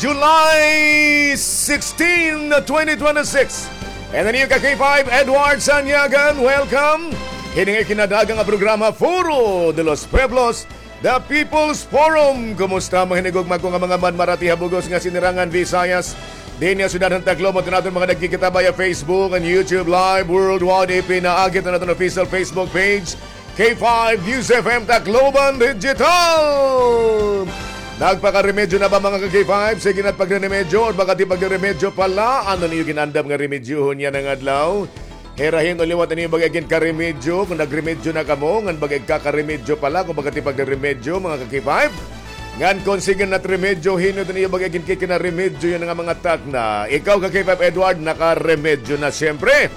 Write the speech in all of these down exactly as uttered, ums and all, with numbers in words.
July sixteen, twenty twenty-six. And the new ka K five, Edward Sanyagan, welcome. Hini nga ikinadaga nga programa, Foro de los Pueblos, The People's Forum. Kumusta, mga hinigugma ko nga mga manmarati ha bug-os nga sinirangan Visayas? Dinhi ha syudad han Tacloban, aton mga nagkikita via Facebook and YouTube Live worldwide, ipinaagi han aton official Facebook page, K five News F M Tacloban Digital. Nagpakaremedyo na ba, mga ka-K five? Sige na't pagreremedyo, or baka ti pagreremedyo pa la? Ano an iyo gin-andam nga remedyohon yana nga adlaw? Hirahin o liwat an iyo bag-o nga ginkaremedyo. Kon nagremedyo na kamo, ngan bag-o igkakaremedyo pa la, kon baka ti pagreremedyo, mga ka-K five. Ngan kon sige na't remedyo, hin-o it an iyo bag-o nga ginkikinaremedyo yana nga mga takna? Ikaw, ka-K five Edward, nakaremedyo na, siyempre.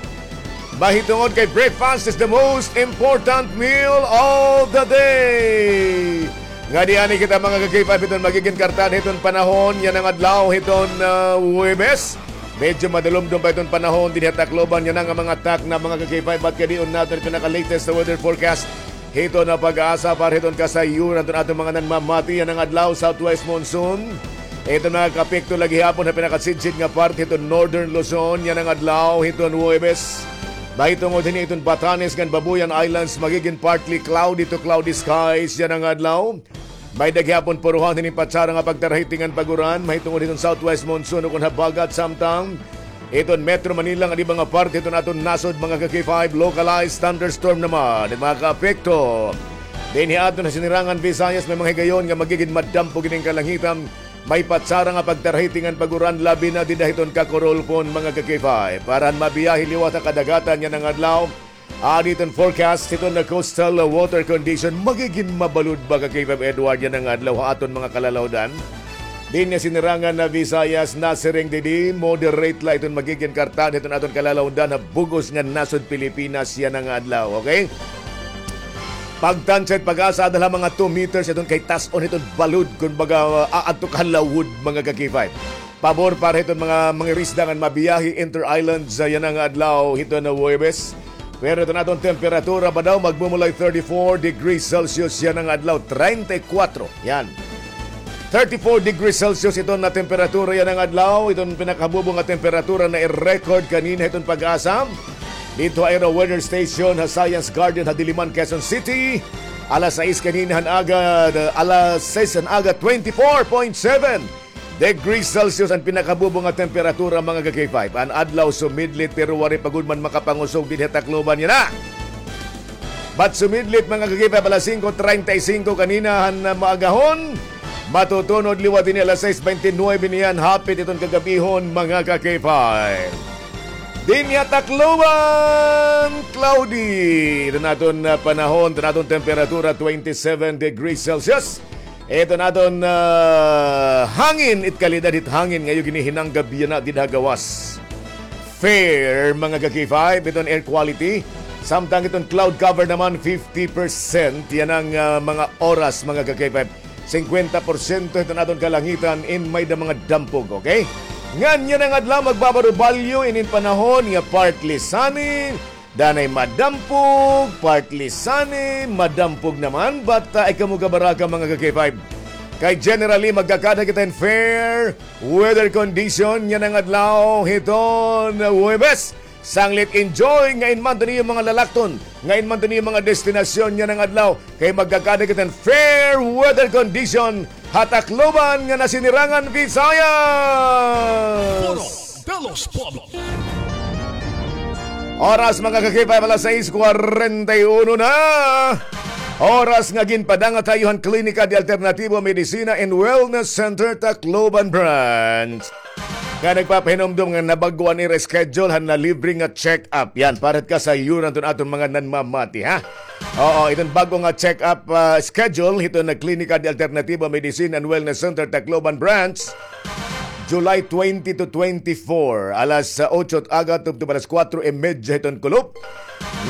Mahitungod kay breakfast is the most important meal of the day. Ngadi anay kita, mga ka-K five, hiton magigin kartahan hiton panahon yana nga adlaw, hiton, ah, Huwebes. Medyo madulomdom pa hiton panahon dinhi ha Tacloban yana nga mga takna, mga ka-K five, bat kadi-on naton pinaka-latest sa weather forecast hiton PAGASA para hiton kasayuran hiton aton mga nanmamati yana nga adlaw, southwest monsoon. Hiton makakaapekto la gihapon ha pinakasidsit nga parte hiton northern Luzon yana nga adlaw hiton Huwebes. Mahitungod hini hiton Batanes ngan Babuyan Islands, magigin partly cloudy to cloudy skies yana nga adlaw. May-ada gihapon puruhan hini patsara nga pagtarahiting ngan pag-uran mahitungod hiton southwest monsoon ukon habagat, samtang hiton Metro Manila ngan iba nga parte hiton aton nasod, mga ka-K five, localized thunderstorm naman it makakaapekto. Dinhi ha aton ha sinirangan Visayas, may mga higayon nga magigin madampo gid an kalangitan. May patsara nga pagtarahiting ngan pag-uran, labi na dida hiton Cacorolpon, mga ka-K five. Para han mabiyahe liwat ha kadagatan yana nga adlaw, adi hiton forecast hiton coastal water condition, magigin mabalud ba, ka-K five Edward, yana nga adlaw ha aton mga kalalawdan? Dinhi ha sinirangan Visayas, nasiring didi, moderate la iton magigin kartahan hiton aton kalalawdan ha bug-os nga nasod Pilipinas yana nga adlaw, okay? Pagtansya it PAGASA, ada la mga two meters iton kay tas-on hiton balud, kumbaga, ah, aadto ka ha lawod, mga ka-K five. Pabor para hiton mga mangirisda ngan mabiyahe inter-islands yana nga adlaw hiton Huwebes. Pero iton aton temperatura ba daw, magmumulay thirty-four degrees Celsius yana nga adlaw, treinta y cuatro. Yan. Thirty-four degrees Celsius iton nga temperatura yana nga adlaw. Iton pinakahabubo nga temperatura na i-record kanina hiton PAGASA didto ha ira weather station ha Science Garden ha Diliman, Quezon City. Alas sais kanina han aga, alas sais han aga, twenty-four point seven degrees Celsius an pinakahabubo nga temperatura, mga ka-K five. An adlaw sumidlit pero waray pa gud man makapangusog dinhi ha Tacloban yana. Bat sumidlit, mga ka-K five, alas singko treinta y cinco kanina han, ah, maagahon. Matutunod liwat hini alas sais beintinuebe niyan, hapit iton kagab-ihon, mga ka-K five. Dinhi ha Tacloban, cloudy iton aton, ah, panahon, iton aton temperatura, twenty-seven degrees Celsius. Iton aton, ah, hangin, it kalidad hit hangin nga iyo ginihinanggab yana dida ha gawas, fair, mga ka-K five, iton air quality. Samtang iton cloud cover naman, fifty percent yana nga, ah, mga oras, mga ka-K five. Singkwenta porsyento iton aton kalangitan in may-da mga dampog, okay? Ngan yana nga adlaw, magbabarubalyo inin panahon nga partly sunny, danay madampog, partly sunny, madampog naman, but, ah, ay kamo kabaraka, mga ka-K five. Kay generally, magkakada kita hin fair weather condition yana nga adlaw hiton Huwebes. Sanglit enjoy nga in man to niyo mga lalakton, nga in man to niyo mga destinasyon yana nga adlaw. Kay magkakada kita hin fair weather condition ha Tacloban ngan ha sinirangan Visayas. Foro de los Pueblos. Oras, mga ka-K five, alas sais kwarenta y uno na. Oras nga ginpadangat ha iyo han Klinika de Alternativo Medicina and Wellness Center Tacloban Branch, nga nagpapahinumdom nga nabag-o an ira schedule han libre nga check-up. Yan, para kasayuran iton aton mga nanmamati, ha? Oo, iton bag-o nga check-up, ah, schedule hiton Klinika de Alternativo Medicine and Wellness Center Tacloban Branch, July twenty to twenty-four, alas, ah, otso it aga tubtob alas kuwatro y medya hiton kulop.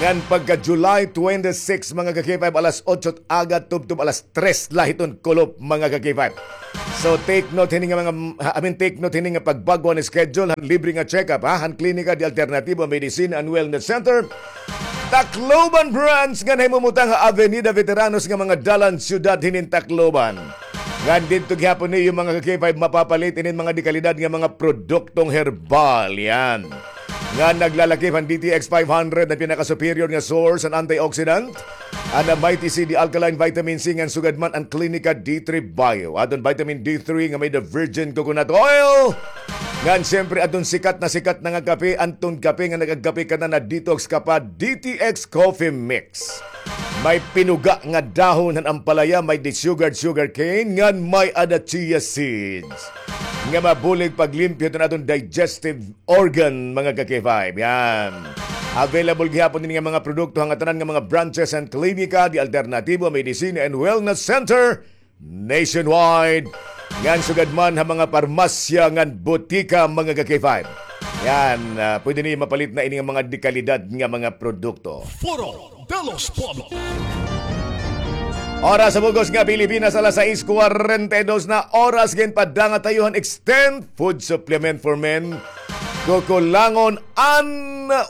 Ngan pagka July twenty-six, mga ka-K five, alas otso it aga tubtob alas tres la hiton kulop, mga ka-K five. So, take note hini nga mga, I mean, take note hini nga pagbag-o han schedule han libre nga check-up, ha, han Klinika de Alternativo Medicine and Wellness Center Tacloban Branch, nga nahimumutang ha Avenida Veteranos nga mga dalan, syudad hinin Tacloban. Ngan didto gihapon niyo mga ka-K five mapapalit inin mga dekalidad nga mga produktong herbal. Yan. Nga naglalakip han D T X five hundred na pinaka-superior nga source an antioxidant. An Mighty C D Alkaline Vitamin C ngan sugad man an Clinica D three Bio. Aton vitamin D three nga may the virgin coconut oil. Ngan siyempre aton sikat na sikat na nga kape, anton kape nga nagagkape ka na, na detox ka pa, D T X Coffee Mix. May pinuga nga dahon han ampalaya, may desugared sugar cane, ngan may ada chia seeds. Nga mabulig paglimpyo hiton aton digestive organ, mga ka-K five. Yan. Available gihapon ini nga mga produkto han ngatanan nga mga branches han Klinika de Alternativo Medicina and Wellness Center nationwide. Ngan sugad man ha mga parmasya ngan botika, mga ka-K five. Yan, ah, pwede niyo mapalit na ini nga mga dekalidad nga mga produkto. Foro de los Pueblos. Oras sa bug-os nga Pilipinas, alas sais kwarenta y dos na oras. Ginpadanga tayo han Extend Food Supplement for Men. Kukulangon an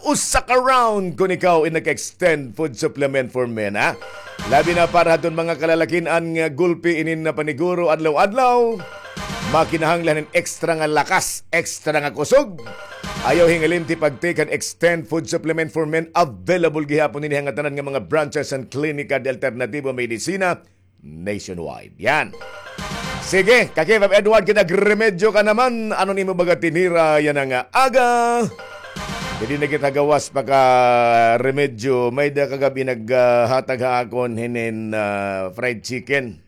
usa ka round kon ikaw in nag-Extend Food Supplement for Men, ha? Labi na para hadton mga kalalakin-an nga gulpi inin na paniguro adlaw-adlaw. Makinahanglan hin extra nga lakas, extra nga kusog. Ayaw hingalimti pag-take han Extend Food Supplement for Men. Available gihapon ini ha ngatanan nga mga branches han Klinika de Alternativo Medicina nationwide. Yan. Sige, ka-K five Edward, kinagremedyo ka naman. Ano nimo baga tinira yana nga aga? Diri na kita gawas pa ka remedyo. May-ada kagab-i naghatag ha akon hinin, ah, fried chicken.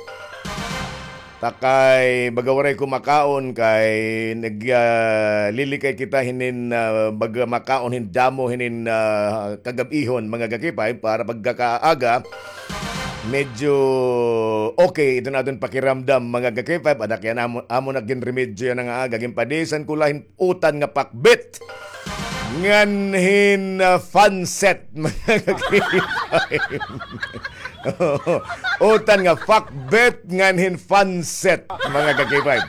Ta kay baga waray ko makaon kay nag, ah, lilikay kita hinin, ah, baga makaon hin damo hinin, ah, kagab-ihon, mga ka-K five, para pagkakaaga medyo okay iton aton pakiramdam, mga ka-K five. Ada kay an amo, amo na ginremedyo yana nga aga, ginpadisan ko la hin utan nga pakbet ngan hin, ah, fanset, mga ka-K five. Utan nga pakbet ngan hin fanset, mga ka-K five.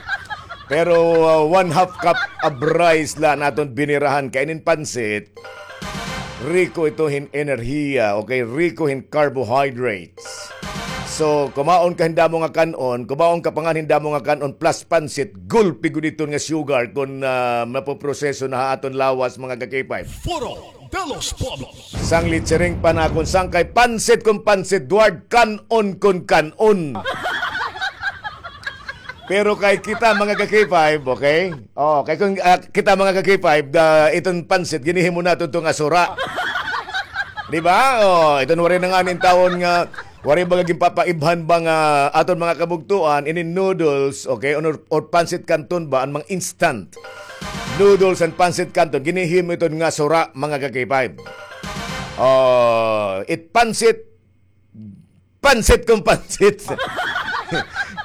Pero, ah, one half cup of rice la an aton binirahan kay inin pansit. Riko ito hin enerhiya, okay? Riko hin carbohydrates. So, kumaon ka hin damo nga kan-on, kumaon ka pa ngan hin damo nga kan-on plus pansit, gulpi gud iton nga sugar kon, ah, mapoproseso na ha aton lawas, mga ka-K five. Foro de los Pueblos. Sanglit siring pa na kon sangkay pansit kon pansit, Edward, kan-on kon kan-on. Pero kay kita, mga ka-K five, okay? Oh, kay kon, ah, kita, mga ka-K five, ah, iton pansit, ginhihimo naton ito nga sura. Di ba? Oh, iton waray na ngani intawon nga, waray baga ginpapaibhan ba nga aton mga kabugtoan, ini noodles, okay? Or, or pansit canton ba, an mga instant noodles and pansit canton, ginhihimo iton nga sura, mga ka-K five. Oh, it pansit, pansit kon pansit.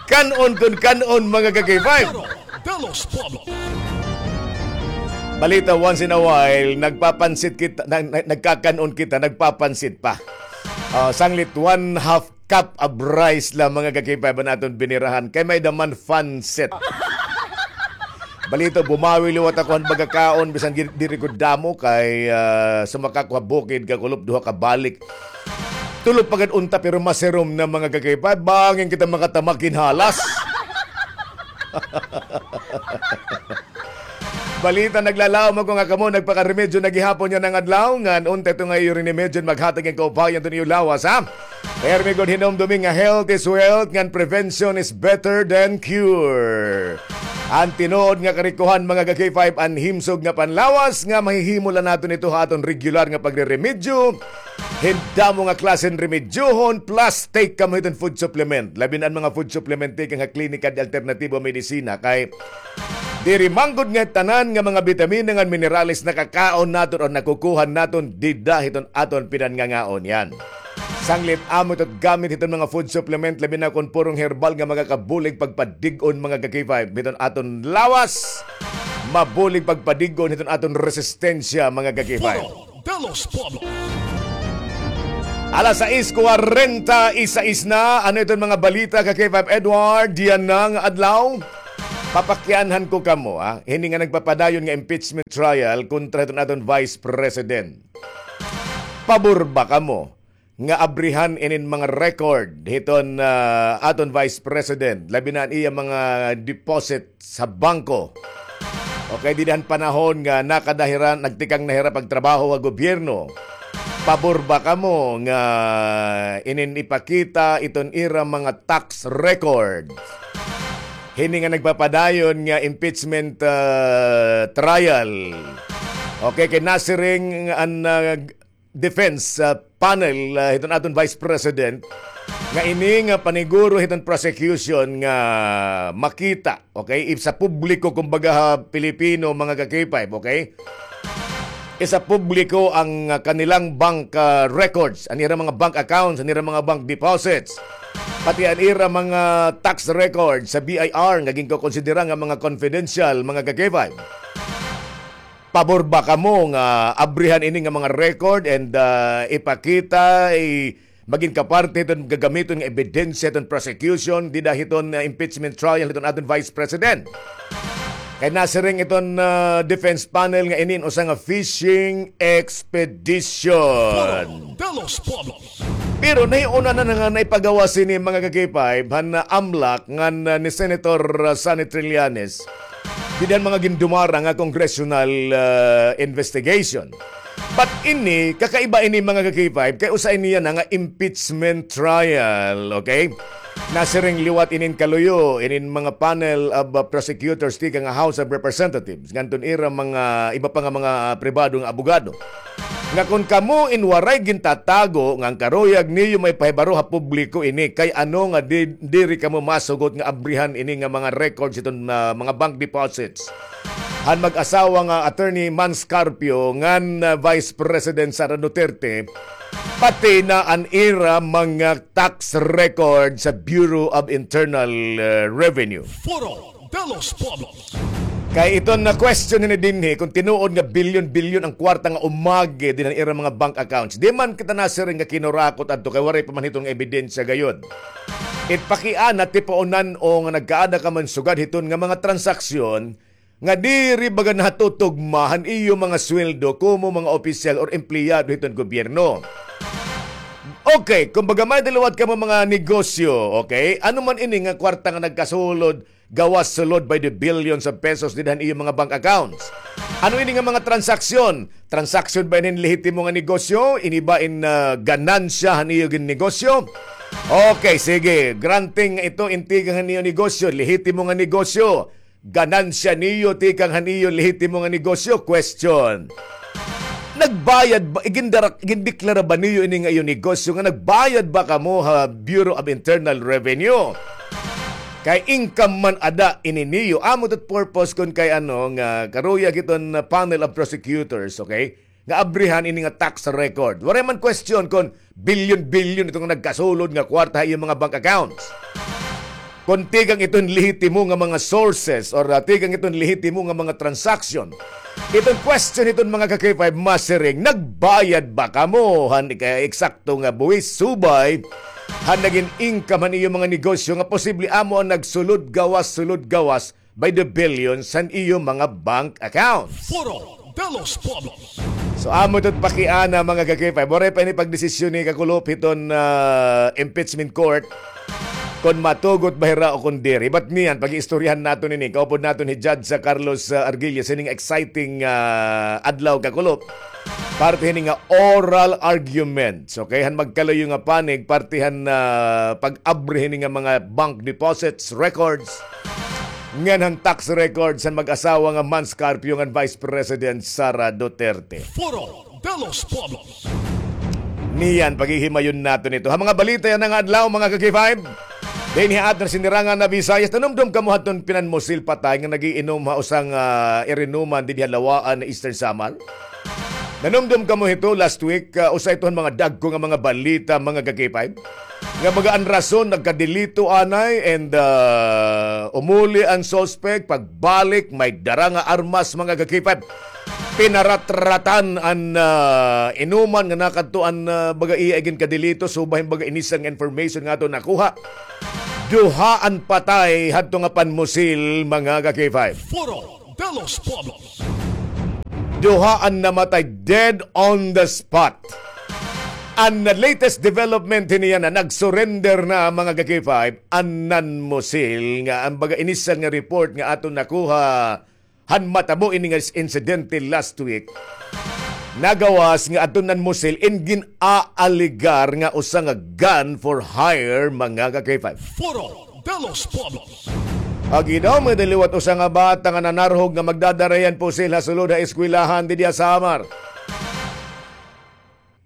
Kan-on kon kan-on, mga ka-K five. Foro de los Pueblos. Balita, once in a while, nagpapansit kita, na, na, nagkakan-on kita, nagpapansit pa. Ah, sanglit, one half cup of rice la, mga ka-K five, an aton binirahan. Kay may-ada man fansit. Balita, bumawi liwat ako han baga kaon, bisan di-, diri gud damo, kay, ah, sumaka ko ha bukid, kakulop duha ka balik. Tulo pa gad unta, pero masirom na, mga ka-K five. Bangin kita makatamak hin halas. Balita, naglalaom ako nga kamo nagpakaremedyo na gihapon yana nga adlaw, ngan unta ito nga iyo rinimedyo maghatag hin kaupayan hiton iyo lawas, ha? Permi gud hinumdumi nga health is wealth, ngan prevention is better than cure. An tinuod nga karikohan, mga ka-K five, an himsog nga panlawas nga mahihimo la naton ito ha aton regular nga pagreremedyo hin damo nga klase hin remedyohon, plus take kamo hiton food supplement. Labi na an mga food supplement, take an ha Klinika de Alternativo Medicina, kay diri man gud nga tanan nga mga bitamina ngan minerales nakakaon naton o nakukuha naton dida hiton aton pinanngangaon. Yan. Sanglit amo ito gamit hiton mga food supplement, labi na kon purong herbal nga makakabulig pagpadig-on, mga ka-K five, hiton aton lawas, mabulig pagpadig-on hiton aton resistensya, mga ka-K five. Foro de los Pueblos. Alas sais kwarenta y sais na. Ano iton mga balita, ka-K five Edward, yana nga adlaw? Papakianhan ko kamo, ha? Hini nga nagpapadayon nga impeachment trial kontra hiton aton Vice President. Pabor ba kamo nga abrihan inin mga record hiton, ah, aton Vice President, labi na an iya mga deposit sa bangko. Okay, dida han panahon nga nakada hira, nagtikang na hira pagtrabaho ha gobyerno. Pabor ba kamo nga inin ipakita iton ira mga tax records hini nga nagpapadayon nga impeachment, ah, trial? Okay, kay nasiring an, ah, defense, ah, panel, ah, hiton aton Vice President nga ini nga paniguro hiton prosecution nga makita, okay, sa publiko, kumbaga, ha Pilipino, mga ka-K five, okay? Sa publiko an, ah, kanilang bank, ah, records, an ira mga bank accounts, an ira mga bank deposits, pati an ira mga tax records sa B I R nga ginkokonsidera nga mga confidential, mga ka-K five. Pabor ba kamo nga abrihan ini nga mga record and, ah, ipakita, i-, magin kaparte hiton gagamiton nga ebidensya hiton prosecution dida hiton, ah, impeachment trial hiton aton Vice President? Kay nasiring iton, ah, defense panel nga ini in usa nga fishing expedition. Foro de los Pueblos. Pero nahiuna na nga naipagawas ini, mga ka-K five, han, ah, AMLAC ngan, ah, ni Senator, ah, Sonny Trillanes dida han mga gindumara nga congressional, ah, investigation. But ini, kakaiba ini, mga ka-K five, kay usa ini yana nga impeachment trial, okay? Nasiring liwat inin kaluyo inin mga panel of, uh, prosecutors tikang ha House of Representatives ngadton ira mga iba pa nga mga pribado nga abogado nga kon kamo in waray gintatago nga an karuyag niyo maipahibaro ha publiko ini, kay ano nga di, diri kamo masugot nga abrihan ini nga mga records hiton, uh, mga bank deposits han mag-asawa nga Attorney Mans Carpio ngan, uh, Vice President Sara Duterte, pati na an ira mga tax record sa Bureau of Internal, uh, Revenue. Foro de los Pueblos. Kay iton na question hini dinhi, kung tinuod nga bilyon-bilyon ang kwarta nga umagi dinhi han ira mga bank accounts, di man kita nasiring nga kinurakot adto kay waray pa man hiton nga ebidensya gayod. It pakiana, tipaon-o nga nagkaada ka man sugad hiton nga mga transaksyon nga diri baga nahatutugma han iyo mga sweldo komo mga opisyal or empleyado hiton gobyerno. Okay, kumbaga may-ada liwat kamo mga negosyo, okay? Ano man ini nga kwarta nga nagkasulod, gawas sulod by the billions of pesos dida han iyo mga bank accounts? Ano ini nga mga transaksyon? Transaksyon ba ini hin lehitimo nga negosyo? Ini ba in, ah, ganansya han iyo gin negosyo? Okay, sige. Granting nga ito in tikang han iyo negosyo, lehitimo nga negosyo. Ganansya niyo tikang han iyo lehitimo nga negosyo. Question. Nagbayad ba, igindarak-, igindeklara ba niyo ini nga iyo negosyo nga nagbayad ba kamo ha Bureau of Internal Revenue? Kay income man ada ini niyo. Amo ito't purpose kon kay ano nga karuyag hiton panel of prosecutors, okay? Nga abrihan ini nga tax record. Waray man question kon bilyon-bilyon ito nga nagkasulod nga kwarta ha iyo mga bank accounts. Kon tikang iton lehitimo nga mga sources or, ah, tikang iton lehitimo nga mga transaction. Iton question hiton mga ka-K five, masiring, nagbayad ba kamo han kay eksakto nga buhis subay han nagin income han iyo mga negosyo nga posible amo an nagsulod gawas, sulod gawas by the billions han iyo mga bank accounts. Foro de los Pueblos. So, amo ito't pakiana, mga ka-K five. Waray pa ini pagdesisyon ni Kakulop hiton, ah, impeachment court kon matugot ba hira o kon diri. But niyan, pag-iistoryahan naton ini. Kaupod naton hi Judge, ah, Carlos, ah, Arguelles, hini nga exciting, ah, adlaw, Kakulop. Parte hini nga oral arguments, okay? Han magkaluyo nga panig, parte han, ah, pag-abri hini nga mga bank deposits, records, ngan han tax records han mag-asawa nga Mans Carpio ngan Vice President Sara Duterte. Foro de los Pueblos. Niyan, paghihimayon naton ito. Ha mga balita yana nga adlaw, mga ka-K five, dinhi ha aton sinirangan nga Visayas, nanumdom kamo hadton pinanmusil patay nga nag-iinom ha usa nga, ah, irinuman dinhi ha Lawaan, Eastern Samar? Nanumdom kamo hito last week, ah, usa ito han mga dagko nga mga balita, mga ka-K five, nga baga an rason nagkadelito anay and, ah, umuli an suspect, pagbalik may dara nga armas, mga ka-K five. Pinaratratan an, ah, inuman nga nakadto an, ah, baga iya iginkadelito, subay hin baga inisang information nga aton nakuha. Duha an patay hadto nga panmusil, mga ka-K five. Foro de los Pueblos. Duha an namatay dead on the spot. An latest development hini yana, nag-surrender na, mga ka-K five, an NAN Mosil, nga an baga initial nga report nga aton nakuha han matabo ini nga insidente last week, nagawas nga adto NAN Mosil in gin-aaligar nga usa nga gun for hire, mga ka-K five. Foro de los Pueblos. Agi daw, may daliwat usa nga bata nga nanarhog nga magdadara hin pusil ha sulod ha eskwelahan didi ha Samar.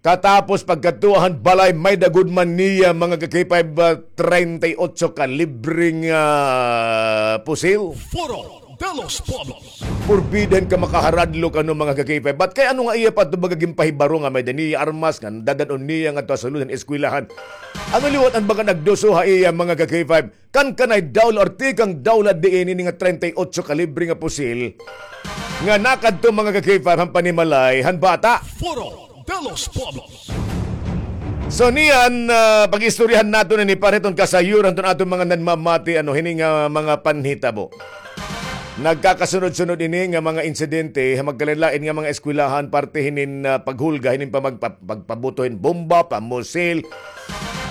Katapos pagkadto han balay, may-ada gud man niya, mga ka-K five, ah, treinta y ocho kalibre nga, ah, pusil. Foro de los Pueblos. Forbidden ka makaharadlok, ano, mga ka-K five. But kay ano nga iya pa ito baga ginpahibaro nga may-ada niya armas nga dadad-on niya ngadto ha sulod han eskwelahan? Ano liwat an baga nagduso ha iya, mga ka-K five? Kan kanay dawla or tikang dawla diin ini nga treinta y ocho kalibre nga pusil nga nakadto, mga ka-K five, han panimalay han bata. Foro de los Pueblos. So niyan, ah, pag-istoryahan naton ini para hiton kasayuran hiton aton mga nanmamati, ano, hini nga mga panhitabo. Nagkakasunod-sunod ini nga mga insidente ha magkalain-lain nga mga eskwelahan, parte hinin, ah, paghulga, hinin pamagpa-, pagpabuto hin bomba, pamusil,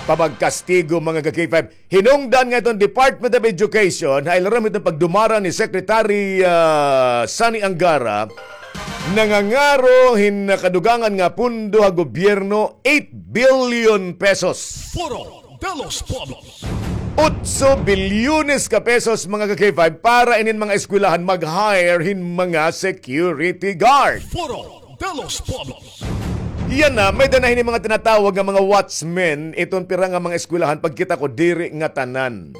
pamagkastigo, mga ka-K five. Hinungdan nga iton Department of Education, ha ilarom hiton pagdumara ni Secretary, ah, Sonny Angara, nangangaro hin kadugangan nga pondo ha gobyerno, eight billion pesos. Foro de los Pueblos. Otso bilyones ka pesos, mga ka-K five, para inin mga eskwelahan mag-hire hin mga security guard. Foro de los Pueblos. Yana, may-ada na hini mga tinatawag nga mga watchmen, iton pira nga mga eskwelahan, pagkita ko, diri ngatanan.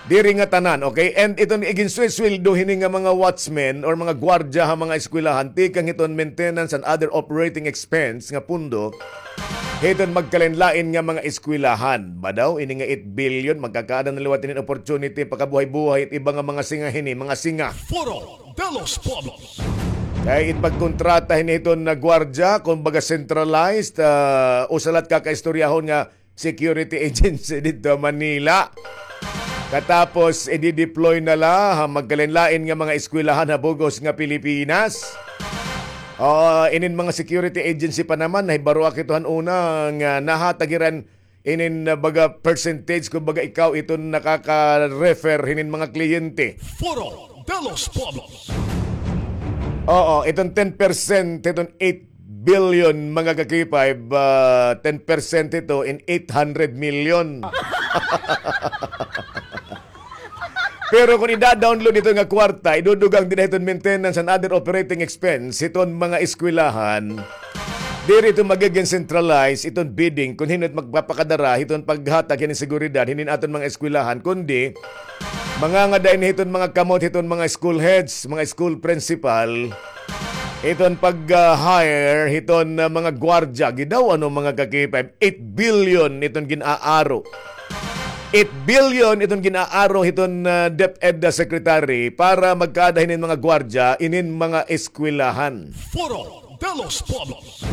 Diri ngatanan, okay? And iton iginsuweldo hini nga mga watchmen or mga gwardya ha mga eskwelahan, tikang hiton maintenance and other operating expense nga pondo, hiton magkalain-lain nga mga eskwelahan. Ba daw, ini nga eight billion, magkakaada na liwat hinin opportunity, pakabuhay-buhay, it iba nga mga singa hini, mga singa. Foro de los Pueblos. Kay it pagkontrata hini hiton nga gwardya, kumbaga centralized, ah, usa la it kakaistoryahon nga security agency didto ha Manila. Katapos, i-deploy na la ha magkalain-lain nga mga eskwelahan ha bug-os nga Pilipinas. Ah, inin mga security agency pa naman, nahibaroak ito han una nga nahatag hira hin inin, ah, baga percentage, kumbaga ikaw iton nakaka-refer hinin mga kliyente. Foro de los Pueblos. Oo, iton ten percent, iton eight billion, mga ka-K five, ah, ten percent ito in eight hundred million. Pero kon ida-download ito nga kwarta, idudugang dida hiton maintenance and other operating expense hiton mga eskwelahan, diri ito magigin centralized iton bidding kon hin-o it magpapakadara hiton paghatag hinin seguridad hinin aton mga eskwelahan, kundi mangangada ini hiton mga kamot hiton mga school heads, mga school principal, iton pag, ah, hire hiton, ah, mga gwardya. Agi daw, ano, mga ka-K five, eight billion iton gin-aaro. Eight billion iton gin-aaro hiton, ah, DepEd Secretary para magkaada hinin mga gwardya inin mga eskwelahan. Foro de los Pueblos.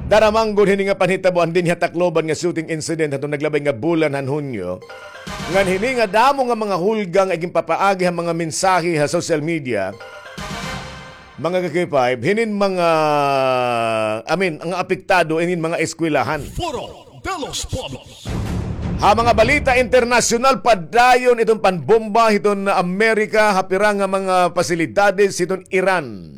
Dara man gud hini nga panhitabo dinhi ha Tacloban nga shooting incident hadton naglabay nga bulan han Hunyo. Ngan hini nga damo nga mga hulga nga iginpapaagi ha mga mensahe ha social media, mga ka-K five, hinin mga, I mean, ang apektado inin mga eskwelahan. Foro de los Pueblos. Ha mga balita internasyonal, padayon iton panbomba hiton Amerika ha pira nga mga pasilidades hiton Iran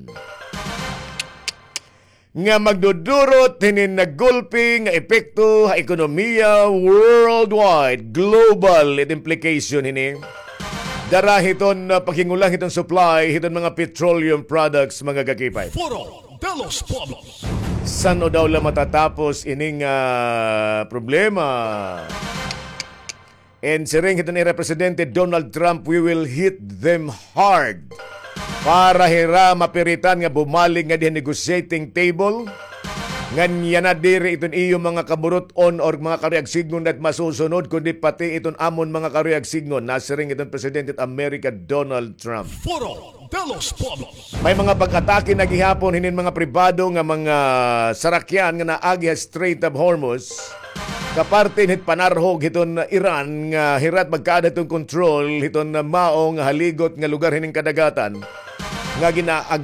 nga magdudurot hinin nga gulpi nga epekto ha ekonomiya worldwide, global it implication hini. Dara hiton, ah, paghingulang hiton supply hiton mga petroleum products, mga ka-K five. Foro de los Pueblos. San-o daw la matatapos ining, ah, problema? And siring hiton ira Presidente Donald Trump, "We will hit them hard." Para hira mapiritan nga bumalik ngadi ha negotiating table. Ngan yana diri iton iyo mga kaburut-on or mga karuyag sidngon na it masusunod, kundi pati iton amon mga karuyag sidngon, nasiring iton Presidente it Amerika Donald Trump. Foro de los Pueblos. May mga pag-atake na gihapon hinin mga pribado nga mga sarakyan nga naagi ha Strait of Hormuz, kaparte hit panarhog hiton Iran nga hira it magkaada hiton kontrol hiton mao nga haligot nga lugar hinin kadagatan nga ginaagi